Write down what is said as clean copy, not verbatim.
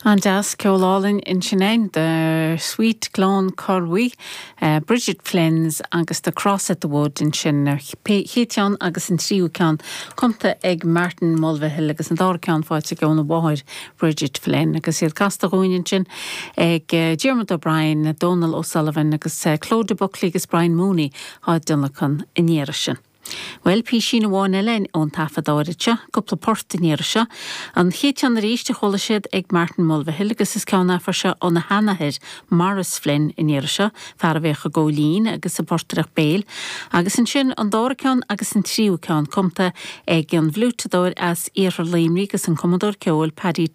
An-deas, ceol álainn ansin againn, The Sweet Cloncurry, Bridget Flynn's agus The Cross at the Wood ansin, an chéad cheann agus an tríú ceann cumtha ag Martin Mulvihill agus an dara ceann faighte aige óna mháthair Bridget Flynn agus iad casta dhúinn ansin ag Diarmuid O'Brien, Dónal O'Sullivan agus Clodagh Buckley agus Brian Mooney á dtionlacan an iarraidh sin. Bhuel, písín amháin eile ón taifead áirid seo, cúpla port an iarraidh seo. An chéad cheann arís a chuala siad ag Martin Mulvihill agus is ceann é an uair seo óna sheanathair, Maurice Flynn, an iarraidh seo, fear a bhíodh ag gabháil fhoinn agus ag portaireacht béil. Agus ansin an dara ceann agus an tríú ceann cumtha ag an bhfliúiteadóir as iarthar Luimnigh agus an cumadóir ceoil Paddy.